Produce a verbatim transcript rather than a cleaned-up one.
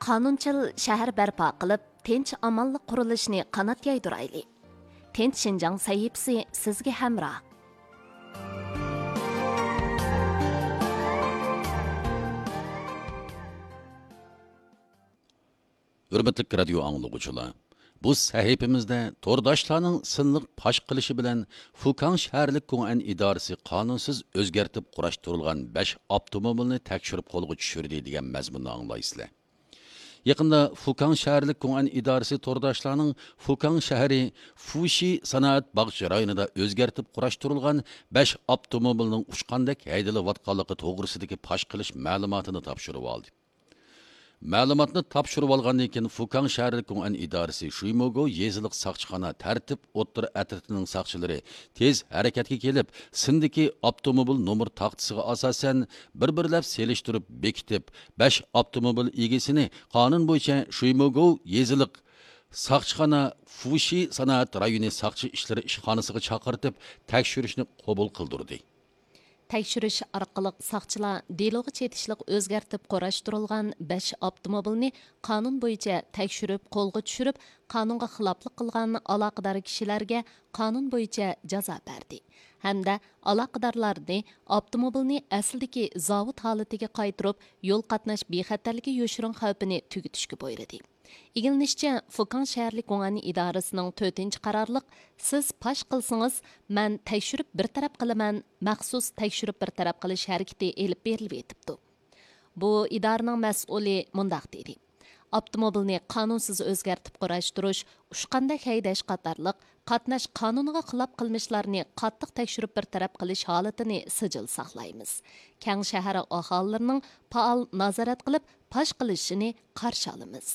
قانۇنچىل شەھەر بەرپا قىلىپ، تىنچ-ئامانلىق قۇرۇلۇشىنى قانات يايدۇرايلى. تىنچ شىنجاڭ سەھىپىسى سىزگە ھەمراھ. ھۆرمەتلىك رادىيو ئاڭلىغۇچىلار، بۇ سەھىپىمىزدە تورداشلارنىڭ سىنلىق پاش قىلىشى بىلەن فۇكاڭ شەھەرلىك گۇڭئەن ئىدارىسى قانۇنسىز ئۆزگەرتىپ قۇراشتۇرۇلغان بەش ئاپتوموبىلنى تەكشۈرۈپ قولغا چۈشۈردى دېگەن مەزمۇننى ئاڭلايسىلەر. يېقىندا فۇكاڭ شەھەرلىك گۇڭئەن ئىدارىسى تورداشلارنىڭ فۇكاڭ شەھىرى فۇشى سانائەت باغچە رايونىدا ئۆزگەرتىپ قۇراشتۇرۇلغان بەش ئاپتوموبىلنىڭ ئۇچقاندەك ھەيدىلىۋاتقانلىقى توغرىسىدىكى پاش قىلىش مەلۇماتىنى تاپشۇرۇۋالدى. مەلۇماتنى تاپشۇرۇۋالغاندىن كېيىن، فۇكاڭ شەھەرلىك گۇڭئەن ئىدارىسى شۇيموگو يېزىلىق ساقچىخانا تەرتىپ ئوتتۇرا ئەترىتىنىڭ ساقچىلىرى تېز ھەرىكەتكە كېلىپ، سىندىكى ئاپتوموبىل نومۇر تاختىسىغا ئاساسەن، بىر-بىرلەپ سېلىشتۇرۇپ بېكىتىپ، بەش ئاپتوموبىل ئىگىسىنى قانۇن بويىچە شۇيموگو يېزىلىق ساقچىخانا فۇشى سانائەت رايونى ساقچى ئىشلىرى ئىشخانىسىغا چاقىرتىپ، تەكشۈرۈشنى قوبۇل قىلدۇردى. تەكشۈرۈش ئارقىلىق ساقچىلار دېلوغا چېتىشلىق ئۆزگەرتىپ قۇراشتۇرۇلغان بەش ئاپتوموبىلنى قانۇن بويىچە تەكشۈرۈپ، قولغا چۈشۈرۈپ، قانۇنغا خىلاپلىق قىلغان ئالاقىدار كىشىلەرگە قانۇن بويىچە جازا بەردى ھەمدە ئالاقىدارلارنى ئاپتوموبىلنى ئەسلىدىكى زاۋۇت ھالىتىگە قايتۇرۇپ، يول قاتناش بىخەتەرلىكى يوشۇرۇن خەۋپىنى تۈگىتىشكە بۇيرۇدى. ئىگىلىنىشىچە، فۇكاڭ شەھەرلىك گۇڭئەن ئىدارىسىنىڭ تۆتىنچى قارارلىق، سىز پاش قىلسىڭىز، مەن تەكشۈرۈپ بىر تەرەپ قىلىمەن، مەخسۇس تەكشۈرۈپ بىر تەرەپ قىلىش ھەرىكىتى ئېلىپ بېرىلىۋېتىپتۇ. بۇ ئىدارىنىڭ مەسئۇلى مۇنداق دېدى: ئاپتوموبىلنى قانۇنسىز ئۆزگەرتىپ قۇراشتۇرۇش، ئۇچقاندەك ھەيدەش قاتارلىق قاتناش قانۇنىغا خىلاپ قىلمىشلارنى قاتتىق تەكشۈرۈپ بىر تەرەپ قىلىش ھالىتىنى سىجىل ساقلايمىز. كەڭ شەھەر ئاھالىلىرىنىڭ پائال نازارەت قىلىپ پاش قىلىشىنى قارشى ئالىمىز.